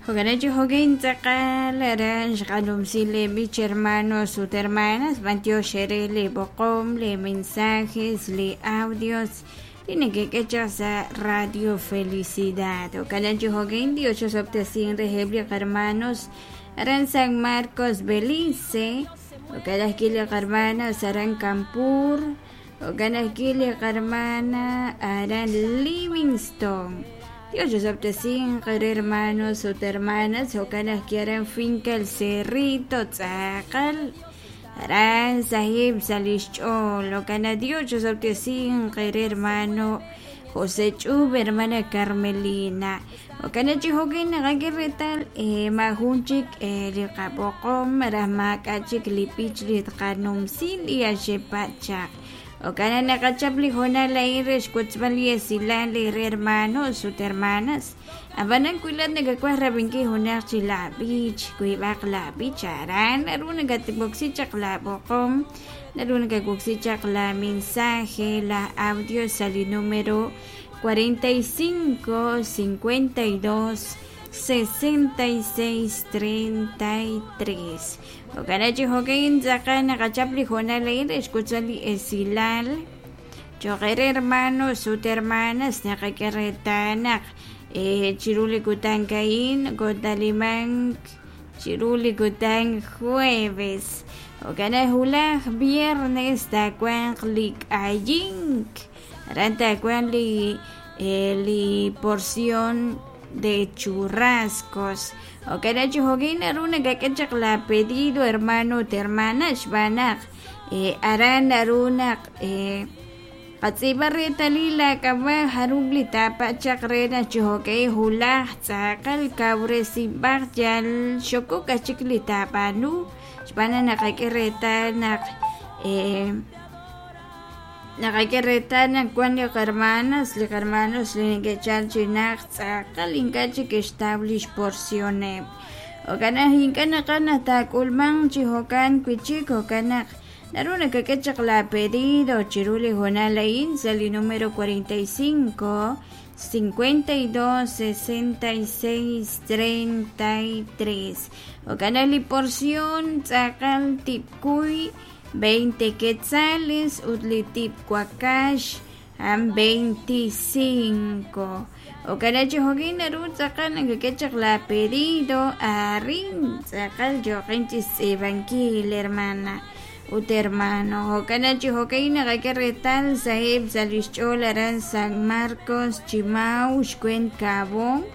Jo'kan chi jo'kin tz'aqal aran xqanumsi li b'ich hermanos ut hermanas b'antiox eere li b'oqom, li mensajes, li audios li nekek'e chaq sa' Radio Felicidad. Jo'kan chi jo'kin Dios chosob'tesin reheb' li hermanos aran San Marcos, Belice. Jo'kan ajwi' li hermanas aran Campur. Jo'kan ajwi' li hermana aran Livingston. Dios chosob'tesinq eere hermanos ut hermanas. Jo'kan ajwi' aran Finca El Cerrito tz'aqal aran sahib' sa' lix ch'ool. Jo'kan naq Dios chosob'tesinq eere hermano José Ch'ub, hermana Carmelina. Jo'kan naq chi jo'kin naqak'e reetal maajun chik li qab'oqom malaj maak'a' chik li b'ich li tqanumsi li axepa' chaq. Jo'kan naq naqachap li hoonal a'in re xwotzb'al li esilal eere hermanos ut hermanas. Ab'anan wi laa'at nakawaj rab'inkil junaq chi laab'ich, wiib'aq laab'ich aran naru nakatwoksi chaq laab'oqom, naru nakawoksi chaq la mensaje, la audio sa' li numero 45 52 66 33. Jo'kan chi jo'kin tz'aqal naqachap li hoonal a'in re xwotzb'al li esilal cho'q eere hermanos ut hermanas. Naqak'e reetal naq chiru li kutan a'in kotalimank chiru li kutan jueves. Jo'kan naq wulaj viernes taawanq li k'ayink aran taawanq li porción de churrascos. Jo'kan chi jo'kin naru nakak'e chaq la pedido hermano ut hermana xb'aan naq aran naru naq qatz'iib'a reetalil laak'ab'a' jarub' li taapa' chaq re naq chi jo'k'e wulaj tz'aqal kawresinb'aq yal xokok aj chik li taab'aanu xb'aan naq naqak'e reetal naq naqak'e reetal naq wan li hermanas li hermanos li neke'chal chi najt tz'aqal ink'a' chik ke'xtaw lix porcioneb'. Jo'kan naq ink'a' naqaj naq taak'ulmanq chi jo'kan wi'chik. Jo'kan naq naru nakak'e chaq la pedido chiru li hoonal a'in sa' li numero 45 52 66 33. Jo'kan naq li porción tz'aqal tib'kuy 20 quetzales ut li tib' wakax a'an 25. Jo'kan naq chi jo'kin naru tz'aqal nakak'e chaq la pedido arin tz'aqal yooqin chi xtz'iib'ankil hermana ut hermano. Jo'kan naq chi jo'kin naqak'e reetal saheb' sa' lix ch'ool aran San Marcos, Chimau, xweent Kaabong.